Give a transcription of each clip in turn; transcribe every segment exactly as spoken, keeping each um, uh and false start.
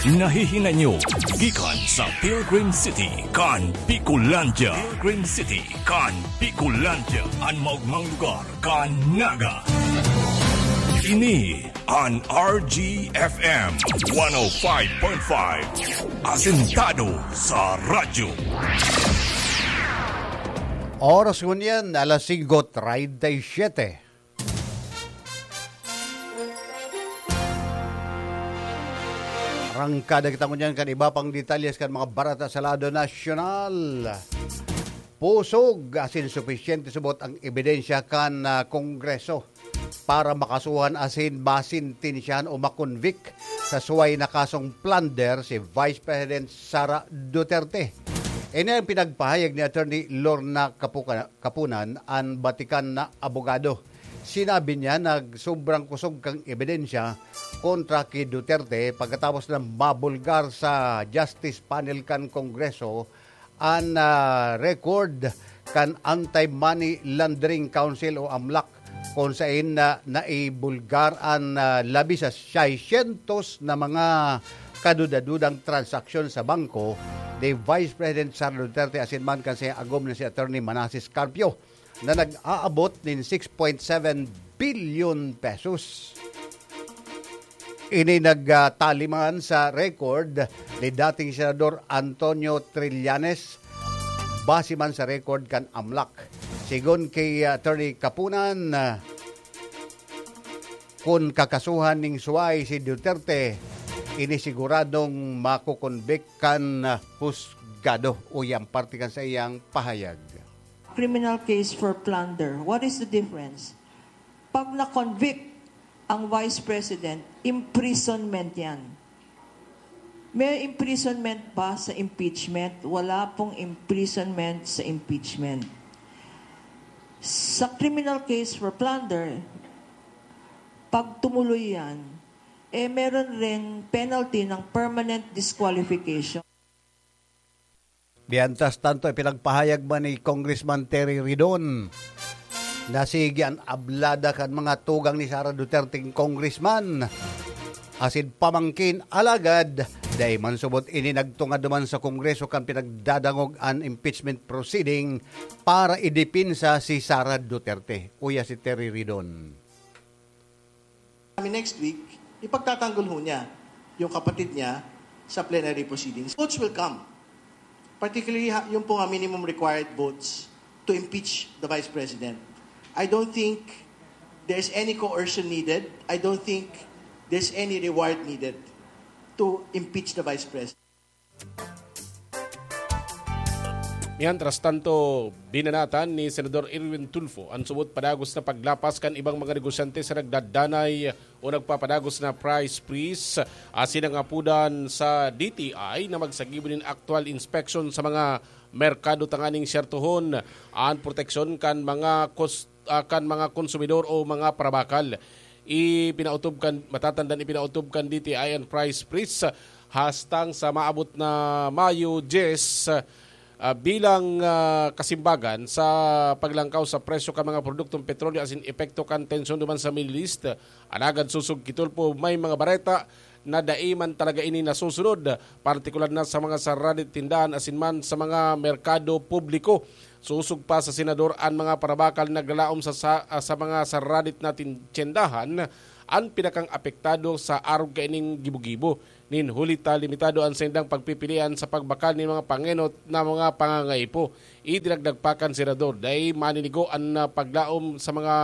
Nahihinay nyo gikan sa Pilgrim City kan Bicolandia. Pilgrim City kan Bicolandia, an maogmang lugar kan Naga. Ini an R G F M one oh five point five, asentado sa radyo. Oras ngunyan, alas singko treinta y siete. Arangkada kita ngunyan kan iba pang detalyes kan mga bareta sa lado nasyonal. Pusog asin supisyente subot ang ebidensya kan, ah, Kongreso para makasuhan asin masentensyahan o makonvict sa suway na kasong plunder si Vice President Sara Duterte. Ini ang pinagpahayag ni Attorney Lorna Kapuka-, Kapunan, an batikan na abogado. Sinabi niya na sobrang kusog kan ebidensya kontra ki Duterte pagkatapos na mabulgar sa Justice Panel kan Kongreso an, ah, record kan Anti-Money Laundering Council o amlac, kung saen na naibulgar an, ah, labi sa seiscientos na mga kaduda-dudang transaksyon sa bangko ni Vice President Sara Duterte asin man kan saiyang agom na si Attorney Manases Carpio na nag-aabot nin six point seven billion pesos. Ini nagtali man sa record ni dating Senador Antonio Trillanes, base man sa record kan amlac. Sigon ki Attorney Kapunan, kun kakasuhan nin suway si Duterte, ini siguradong makokonvict kan husgado. Uya an parte kan saiyang pahayag. Criminal case for plunder. What is the difference? Pag na-convict ang Vice President, imprisonment yan. May imprisonment ba sa impeachment? Wala pong imprisonment sa impeachment. Sa criminal case for plunder, pag tumuloy yan, eh meron ring penalty ng permanent disqualification. Mientras tanto, ipinagpahayag man ni Congressman Terry Ridon na sige an ablada kan mga tugang ni Sara Duterte congressman asin pamangkin, alagad dai man subot ini nagtungad duman sa Kongreso kan pinagdadangog an impeachment proceeding para idepensa si Sara Duterte. Uya si Terry Ridon. Kami next week, ipagtatanggol ho niya yung kapatid niya sa plenary proceedings. Votes will come. Particularly, ha, yung po nga minimum required votes to impeach the Vice President. I don't think there's any coercion needed. I don't think there's any reward needed to impeach the Vice President. Mientras tanto, binanatan ni Senador Erwin Tulfo an subot padagos na paglapas kan ibang mga negosyante sa nagdadanay o nagpapadagos na price freeze asin nangapodan sa D T I na magsagibo nin aktual inspeksyon sa mga merkado tanganing syertohon an proteksyon kan mga kos-, ah, kan mga konsumidor o mga parabakal. Ipinautob kan, matatandaan, ipinautob kan D T I an price freeze hastang sa maabot na Mayo diyes, ah, bilang, ah, kasimbagan sa paglangkaw sa presyo kan mga produktong petrolyo asin epekto kan tensyon duman sa Middle East. Alagad sosog ki Tulfo, may mga bareta na dai man talaga ini nasusunod, partikular na sa mga saradit tindahan asin man sa mga merkado publiko. Sosog pa sa senador, an mga parabakal naglalaom sa, sa, sa mga saradit na tin-, tyendahan an pinakang apektado sa arog kaining gibo-gibo. Nin huli ta limitado an saindang pagpipilian sa pagbakal nin mga pangenot na mga pangangaipo. Idinagdag pa kan senador, dai maninigo an, ah, paglaom sa mga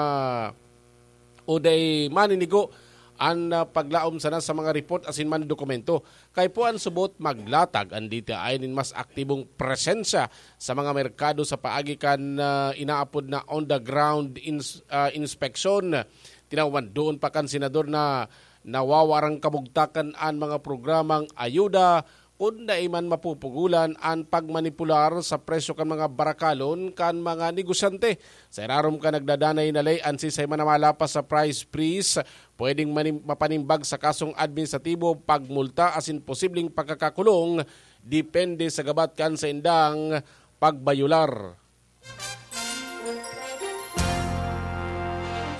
o dai maninigo an, ah, paglaom sana sa mga report asin man dokumento. Kaipuhan subot maglatag an D T I nin mas aktibong presensya sa mga merkado sa paagi kan, ah, inaapod na on-the-ground ins-, ah, inspeksyon. Tinawan doon pa kan senador na nawawarang kabugtakan an mga programang ayuda kun dai man mapupugolan an pagmanipular sa presyo kan mga barakalon kan mga negosyante. Sa irarom kan nagdadanay na ley, an siisay man na malapas sa price freeze, pwedeng manim-, mapanimbag sa kasong administratibo, pagmulta asin posibleng pagkakakulong, depende sa gabat kan saindang pagbayular.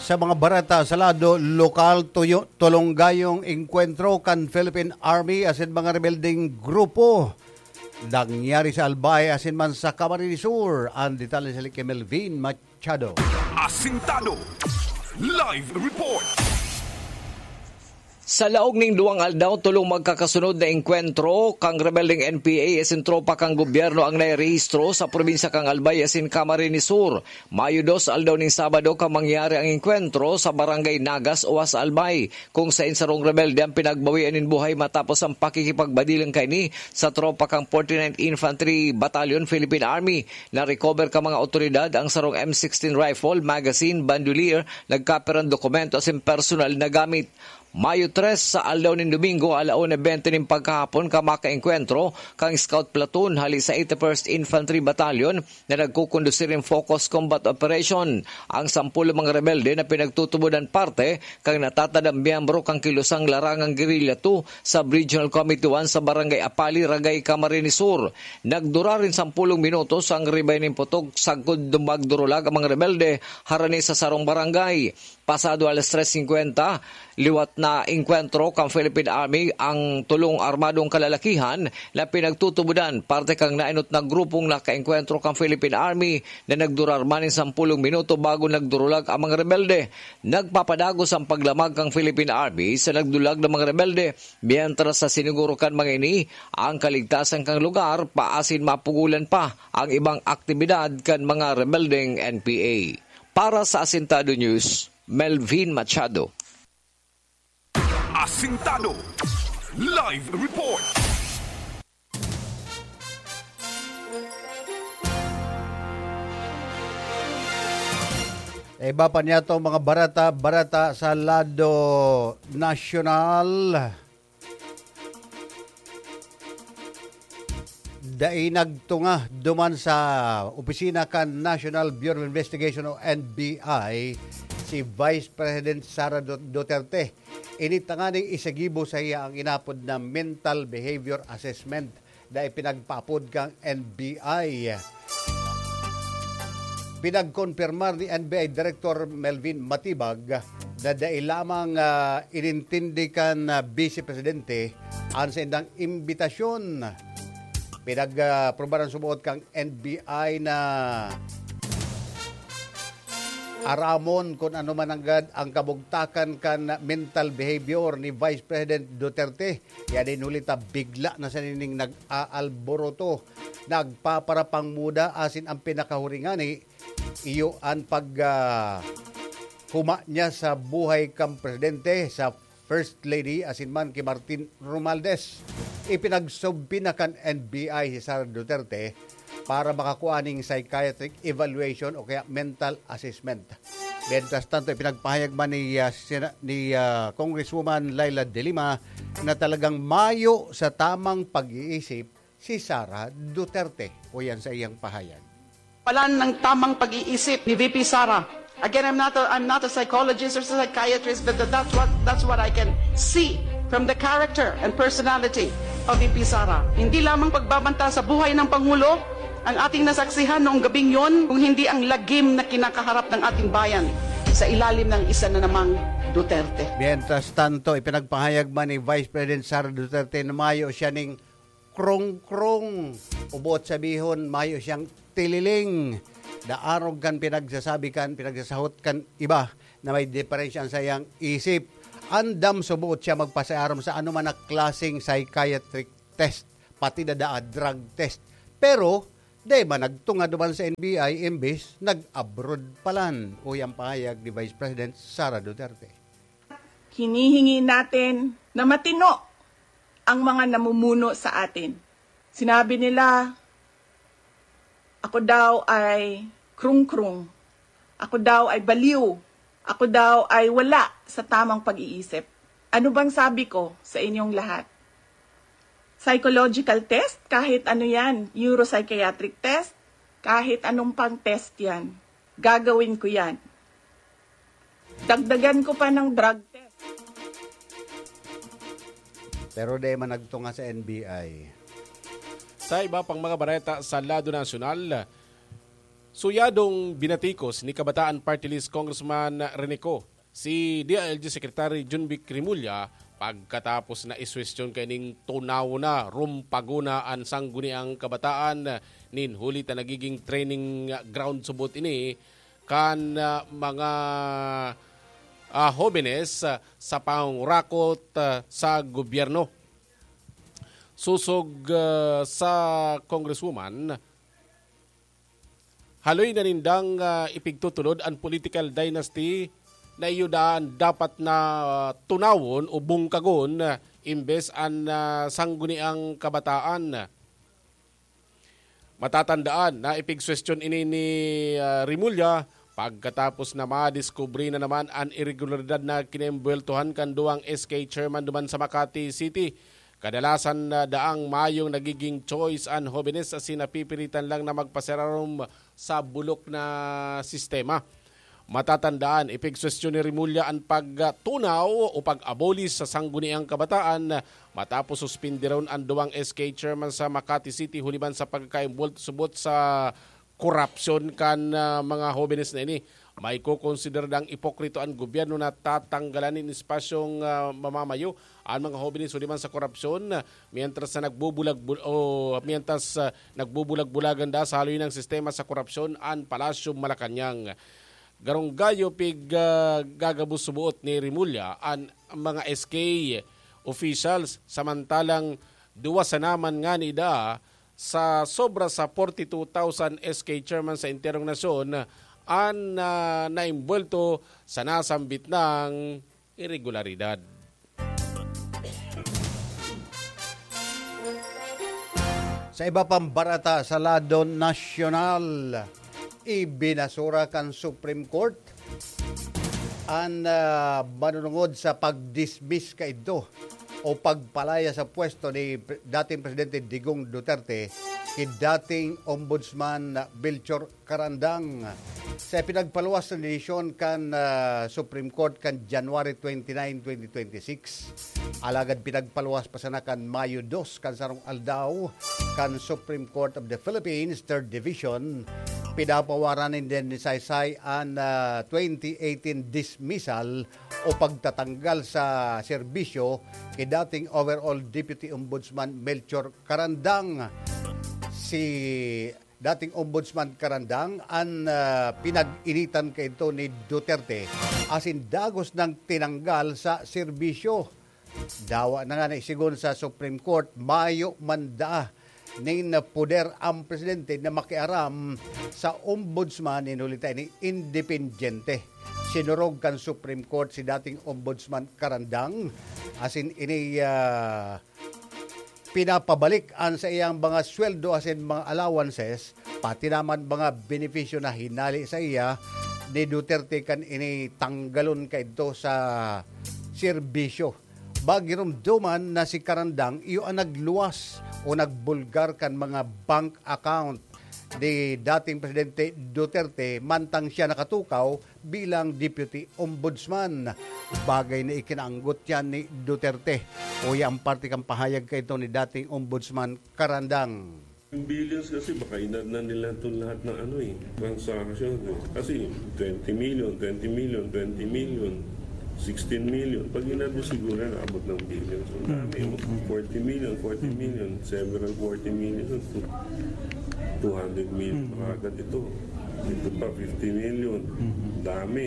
Sa mga bareta sa lado lokal, tuyo, tulonggayong engkwentro kan Philippine Army asin mga rebeldeng grupo nangyari sa Albay asin man sa Camarines Sur. Ang detalye sa Melvin Machado. Asintado. Live report. Sa laog ning duwang aldaw, tolong magkakasunod na engkwentro kan rebeldeng N P A asin tropa kan gobyerno ang nairehistro sa probinsya kan Albay asin Camarines Sur. Mayo dos, aldaw nin Sabado, kan mangyari ang engkwentro sa Barangay Nagas, Oas, Albay, kung saen sarong rebelde ang pinagbawian nin buhay matapos ang pakikipagbadilang kaini sa tropa kan forty-ninth Infantry Battalion, Philippine Army. Na-recover kan mga awtoridad ang sarong M sixteen rifle, magazine, bandolier, nagkaperang dokumento asin personal na gamit. Mayo tres, sa aldaw nin Domingo, ala una bente nin pagkahapon, kan makaengkwentro kan Scout Platoon hali sa eighty-first Infantry Battalion na nagkukondusir nin Focus Combat Operation. Ang sampulong mga rebelde na pinagtutubodan parte kan natatadang miyembro kan kilosang Larangang Guerrilla two Sub-Regional Committee one sa Barangay Apali, Ragay, Camarines Sur. Nagdurar nin sampulong minutos ang ribay nin putok sagkod magdurulag ang mga rebelde harani sa sarong barangay. Pasado alas tres singkwenta, liwat na engkwentro kan Philippine Army ang tolong armadong kalalakihan na pinagtutubodan parte kan naenot na grupong nakaengkwentro kan Philippine Army na nagdurar man nin sampulong minuto bago nagdurulag ang mga rebelde. Nagpapadagos ang paglamag kan Philippine Army sa nagdulag na mga rebelde, mientras sa siniguro kan mga ini ang kaligtasan kan lugar, paasin mapugolan pa ang ibang aktibidad kan mga rebeldeng N P A. Para sa Asintado News, Melvin Machado. Asintado. Live report. Iba pa niya to, mga barata-barata sa lado nasyonal. Dai nagtunga duman sa opisina kan National Bureau of Investigation o N B I si Vice President Sara Du-, Duterte. Ini tanganing isagibo sa iya ang inapod na mental behavior assessment na ipinagpaapod kan N B I. Pinagkonpirmar ni N B I Director Melvin Matibag na dai lamang, ah, inintindi kan, ah, Vice Presidente an saindang imbitasyon. Pinag, ah, prubaran suboot kan N B I na aramon kun ano man nanggad ang kabugtakan kan mental behavior ni Vice President Duterte. Kaya din huli ta, bigla na siya nining nag-aalboroto, nagpaparapangmuda, asin ang pinakahuri ngani, iyo an pag, ah, huma niya sa buhay kan presidente, sa First Lady, asin man ki Martin Romualdez. Ipinagsubpoena kan N B I si Sara Duterte para makakua ning psychiatric evaluation o kaya mental assessment. Mientras tanto, ipinagpahayag man ni, ah, Sena-, ni, ah, Congresswoman Leila de Lima na talagang mayo sa tamang pag-iisip si Sara Duterte. O yan sa iyang pahayag. Wala ng tamang pag-iisip ni V P Sara. Again, I'm not a, I'm not a psychologist or psychiatrist, but that's what, that's what I can see from the character and personality of V P Sara. Hindi lamang pagbabanta sa buhay ng Pangulo ang ating nasaksihan noong gabing yon, kung hindi ang lagim na kinakaharap ng ating bayan sa ilalim ng isa na namang Duterte. Mientras tanto, ipinagpahayag man ni Vice President Sara Duterte na mayo siya ning krong-krong. O buot sabihon, mayo siyang tililing. Naarog kan pinagsasabi kan, pinagsasahot kan iba na may diferensya sa iyang isip. Andam suboot siya magpasaarom sa anoman na klaseng psychiatric test, pati na daa drug test. Pero, di man nagtunga duman sa N B I, imbis nag-abroad palan. Uy ang pahayag ni Vice President Sara Duterte. Hinihingi natin na matino ang mga namumuno sa atin. Sinabi nila, "Ako daw ay krung-krung. Ako daw ay baliw. Ako daw ay wala sa tamang pag-iisip." Ano bang sabi ko sa inyong lahat? Psychological test, kahit ano yan, neuropsychiatric test, kahit anong pang test yan, gagawin ko yan. Dagdagan ko pa ng drug test. Pero di man nagtunga sa N B I. Sa iba pang mga bareta sa lado nasyonal, Suyadong binatikos ni Kabataan Party List Congressman Rene Co si D I L G Secretary Jonvic Remulla pagkatapos na isuwestiyon kaining tunawon na rumpagona an Sangguniang Kabataan nin huli ta nagiging training ground subot ini kan, ah, mga, ah, hobenes, ah, sa pangungurakot, ah, sa gobyerno. Sosog, ah, sa Congresswoman, haloy na nindang, ah, ipigtutulod an political dynasty na iyo daan dapat na, ah, tunawon o bungkagon, ah, imbes an, ah, Sangguniang Kabataan. Matatandaan na ipigsuwestiyon ini ni, ah, Remulla pagkatapos na madiskubre na naman an iregularidad na kinembweltohan kan duwang S K chairman duman sa Makati City. Kadalasan na daang mayong nagiging choice an hobenes asin napipilitan lang na magpasirarom sa bulok na sistema. Matatandaan, ipigsuwestiyon ni Remulla an pagtunaw o pag-abolis sa Sangguniang Kabataan matapos suspindiron an duwang S K chairman sa Makati City huli man sa pagkakaimbwelto subot sa korapsyon kan, ah, mga hobenes na ini. Maikokonsidera dang ipokrito an gobyerno na tatanggalan nin espasyong, ah, mamamayo an mga hobenes huli man sa korapsyon, mientras na nagbubulag-bul-, o mientras, ah, nagbubulag-bulagan da sa haloy ng sistema sa korapsyon an Palasyo Malacañang. Garong gayo pig, ah, gagabos suboot ni Remulla an mga S K officials, samantalang duwa sana man ngani da sa sobra sa forty-two thousand S K chairman sa enterong nasyon an, ah, naimbwelto sa nasambit nang iregularidad. Sa iba pang barata sa lado nasyonal, ibinasura kan Supreme Court an, ah, manunungod sa pag-dismiss kaidto o pagpalaya sa pwesto ni Pre-, dating Presidente Digong Duterte ki dating Ombudsman Melchor Carandang. Sa ipinagpaluwas na desisyon kan, ah, Supreme Court kan January twenty-nine, twenty twenty-six, alagad pinagpaluwas pa sana kan Mayo dos kan sarong aldaw kan Supreme Court of the Philippines, Third Division, pinapawaran nin saysay an, ah, twenty eighteen dismissal o pagtatanggal sa serbisyo ki dating Overall Deputy Ombudsman Melchor Carandang. Si dating Ombudsman Carandang an, ah, pinag-initan kaidto ni Duterte asin dagos nang tinanggal sa serbisyo. Dawa na nga na isigon sa Supreme Court, mayo man daa nin poder ang presidente na makiaram sa ombudsman, nin huli ta ini independyente. Sinurog kan Supreme Court si dating Ombudsman Carandang asin ini, ah, pinapabalik an sa iyang mga sweldo asin mga allowances, pati naman mga benepisyo na hinali sa iya ni Duterte kan ini tanggalon kaidto sa serbisyo. Bagiromdoman na si Carandang iyo ang nagluwas o nagbulgar kan mga bank account ni dating Presidente Duterte mantang siya nakatukaw bilang Deputy Ombudsman, bagay na ikinaanggot yan ni Duterte. Uya ang parte kan pahayag kaidto ni dating Ombudsman Carandang. Yung billions kasi baka inad na nila itong lahat ng ano eh, transaction. Eh. Kasi twenty million, twenty million, twenty million, sixteen million. Pag inad mo siguro yan, abot ng billions. Ang dami. Mm, mm, mm. Forty million, forty million, several forty million, two hundred million. Mm. Mga agad ito. Ito pa, fifty million. Mm. Dami.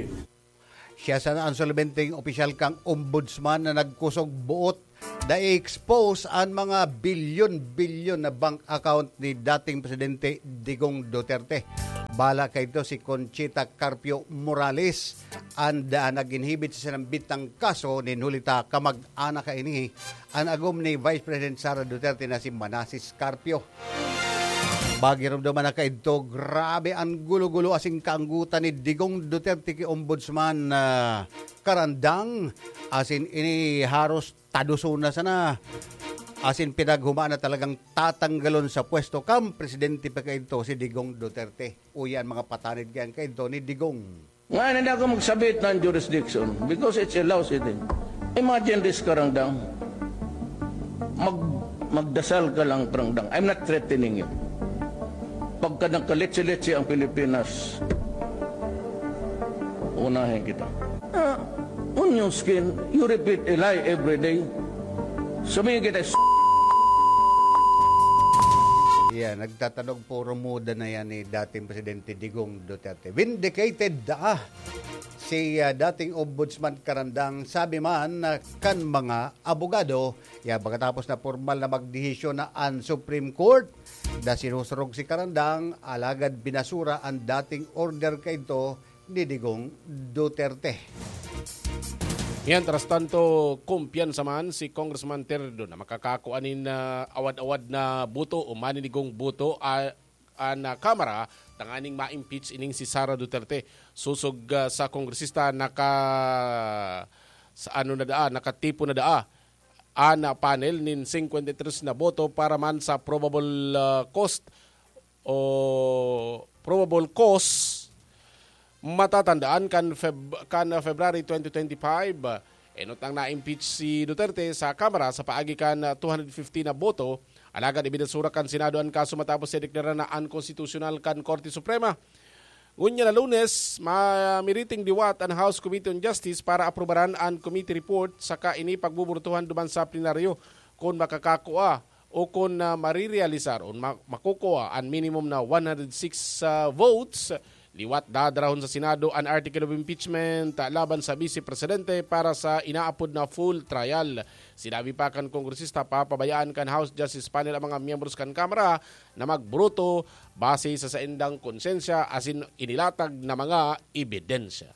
Siya sana ang solbenteng opisyal kang ombudsman na nagkusog buot na i-expose an mga bilyon-bilyon na bank account ni dating Presidente Digong Duterte. Bala kaidto si Conchita Carpio Morales, an daan nag-inhibit sa sinambit na kaso nin huli ta kamag-anak kaini an agom ni Vice President Sara Duterte na si Manases Carpio. Bagiromdoman na kaidto, grabe an gulo-gulo asin kaanggotan ni Digong Duterte ki Ombudsman, ah, Carandang. Asin ini haros tadoson na sana. Asin pinaghumaan na talagang tatanggalon sa pwesto kan presidente pa kaidto si Digong Duterte. Uya an mga patanid kayan kaidto ni Digong. Ngayon, hindi ako magsabit ng jurisdiction because it's a law sitting. Imagine this, Carandang. Mag-, magdasal ka lang, Carandang. I'm not threatening you. Pagka nagkaletse-letse ang Pilipinas, unahin kita. Ah, on your skin, you repeat a lie every day. Sabihin kita, "S-" Yan, nagtatanog puro muda na yan ni dating Presidente Digong Duterte. Vindicated daa si ah, dating Ombudsman Karandang, sabi man ah, kan mga abogado. Ya, pagkatapos na pormal na magdesisyon na an Supreme Court na sinusurog si Karandang, alagad binasura an dating order kaidto ni Digong Duterte. Mientras tanto, kumpiyansa man si Congressman Terdo na makakakua nin ah, awad-awad na boto o maninigong boto ah, an ah, Kamara tanganing ma-impeach ining si Sara Duterte. Sosog ah, sa kongresista, naka sa ano na daa, nakatipo na daa an ah, panel nin fifty-three na boto para man sa probable ah, cause o probable cause. Matatandaan kan Feb kan February twenty twenty-five, enot nang na-impeach si Duterte sa Kamara sa paagi kan two hundred fifty na boto, alagad ibinasura kan Senado an kaso matapos siya deklara na unconstitutional kan Korte Suprema. Ngunyan na Lunes, mamiriting liwat an House Committee on Justice para aprubaran an committee report saka ini pagbuburtuhan duman sa plenaryo kun makakakua o kun ah, marirealisar o ma- makukua an minimum na one hundred six ah, votes. Liwat dadarahon sa Senado an article of impeachment ah, laban sa Vice Presidente para sa inaapod na full trial. Sinabi pa kan kongresista, papabayaan kan House Justice Panel ang mga miyembros kan Kamara na magbruto base sa saindang konsensya asin inilatag na mga ebidensya.